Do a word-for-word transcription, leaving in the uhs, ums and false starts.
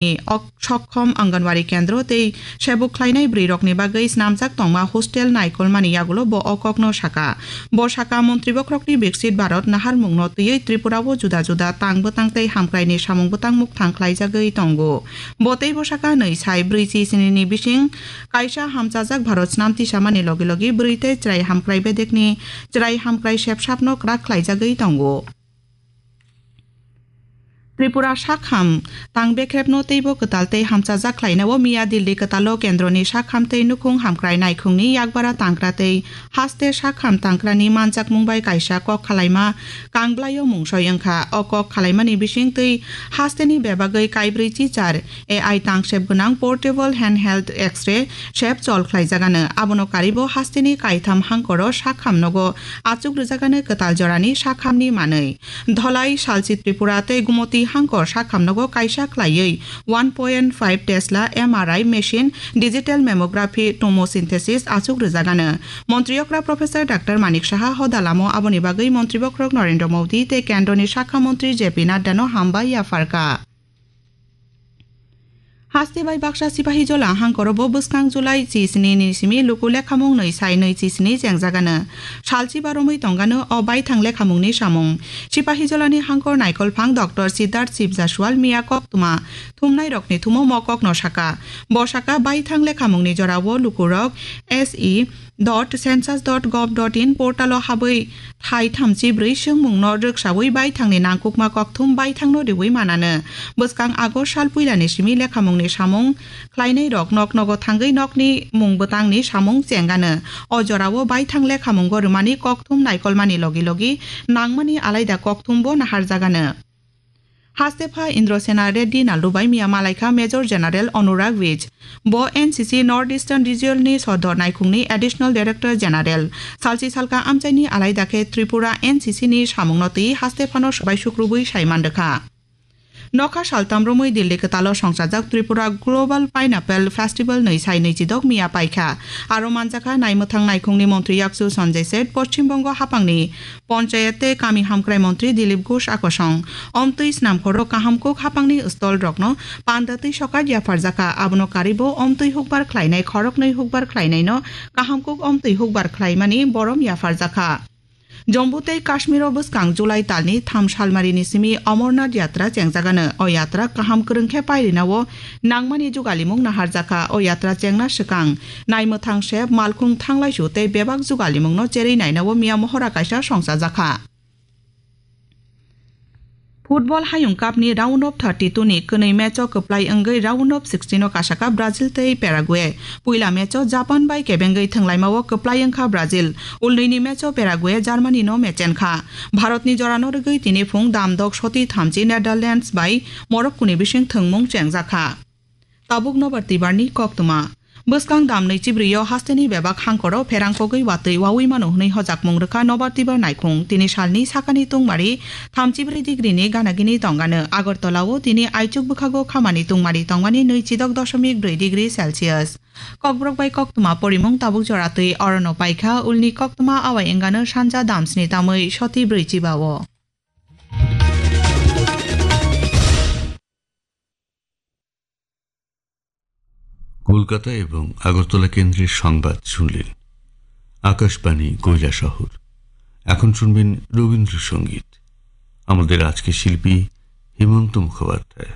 ni ok-, sokkhom Anganwadi kendro tei sebuk khlainai bwrwirokni bagwi snamjak tongma hostel naikolmani yagulo bo o kokno saka. Bo saka, Montri bokhorokni Viksit Bharat naharmungno twiwi Tripura o juda juda tang bwtang tei hamkraini samung bwtang mukthang khlaijagwi tongo. Bo teibo saka, nwi sai brwi chi sini ni bising kaisa hamchajak Bharat snam tisamani logi logi bwrwi tei chwrai hamkrai bedekni chwrai hamkrai sepsapno kwrak khlaijagwi tongo. Tripura sakham tang bekrepno teibo kwtal tei hamchajak khlainao miya Delhi kwtalo kendroni sakham tei nukhung hamkrai naikhungni yakbara tangkra tei haste sakham tangkrani manjakmung bai kaisa kok khalaima kangblaio mungsoi wngkha. O kok khalaimani bising twi hasteni bebagwi kaibrwi chichar A I tangsep gwnang portable handheld X-ray sep chol khlaijagano. Abono karibo hasteni kaitham hangkoro sakham nogo achuk rwjagano kwtal jorani sakhamni manwi. Dholai, Salchi Tripura tei Gumoti hangkor sakhamnogo kaisa khlaiwi one point five Tesla M R I machine, digital mammography, tomosynthesis achuk rwjagano. Montri okra Professor Doctor Manik Saha hoda lamo aboni bagwi Montri bokhorok Narendra Modi tei Kendroni Sakha Montri J P Nadda no hambai yapharkha. Haste bai baksa Sipahijola hangkoro bo bwskang July chi sini ni simi luku lekhamung nwi sai nwi chi sini chengjagano. Salchi ba romwi tongano o baithang lekhamungni samung. Sipahijolani hangkor naikolphang Doctor Siddharth Shiv Jaswal miya koktwma thumnairokni thumo mo kokno saka. Bo saka, baithang lekhamungni jorao lukurok S E dot census dot gov dot in portalo habwi thai thamchi brwi swngmungno rwksaui baithangni nangkukma kokthum baithangno riui manano. Bwskang August sal puilani simi lekhamungni samung khlainairok nok nogo thangwi nokni mung bwtangni samung chengano. O jorao baithang lekhamungo rwmani kokthum naikolmani logi logi nangmani alaida kokthumbo naharjagano. Hastepha Indrasena Reddy Nallubai miya malaikha Major General Anurag Vij. Bo N C C North Eastern Region ni sodor naikhungni Additional Director General. Salchi salka amchaini alaida khe Tripura N C C ni samungno twi hastephano swbai sukrubwi sai mandwkha. Nokha saltam romwi Delhi kwtalo songchajak Tripura Global Pineapple Festival nwi sai nwi chidok miya paikha. Aro manjakha naimwthang naikhungni montri yakchu Sanjay Seth, Poschim Bongo haphangni Ponchayat tei Kami Hamkrai Montri Dilip Ghosh akosong. Omtwi snamkhoro kahamkuk haphangni stall rokno panda twi sokat yapharjakha. Abono karibo omtwi hukbar khlainai khoroknwi hukbar khlainaino kahamkuk omtwi hukbar khlaimani borom yapharjakha. Jammu tei Kashmiro bwskang July talni tham salmarini simi Amarnath Yatra chengjagano. O yatra kaham kwrwng khe pairinao nangmani jugalimung naharjakha. O yatra chengna swkang naimwthang sep, malkhung thanglaisu tei bebak jugalimungno cherwi nainao miya mohora kaisa songchajakha. Football Hayung Cup ni round of thirty-two ni kwnwi match o kwplai wngwi round of sixteen o kasakha Brazil tei Paraguay. Puila match o Japan bai kebengwi thwnglaima o kwplai wngkha Brazil. Ulnwini match o Paraguay Germany no mechenkha. Bharat ni jora no rwgwi tini phung damdok soti thamchi Netherlands bai Morocco ni bising thwngmung chengjakha. Tabuk nobar twibar ni koktwma. Bwskang dam nwi chibrwi o hasteni bebak hangkoro pherang kogwi watwi wawi mano hwnwi hojakmung rwkha nobar twibar naikhung. Tini salni sakani tungmari thamchi brwi degree ni ganagini tongano. Agartala o tini aichuk bwkhago khamani tungmari tongmani nwi chidok doshomik brwi degree Celsius. Kokborok bai koktwma porimung tabuk jora twi orono paikha, ulni koktwma awai wngano sanja damsni tamwi soti brwi chiba o. Kolkata এবং আগরতলা কেন্দ্রের সংবাদ শুনলেন আকাশবাণী কৈলাসহর। এখন শুনবেন রবীন্দ্রসঙ্গীত। আমাদের আজকে শিল্পী হেমন্ত মুখোপাধ্যায়।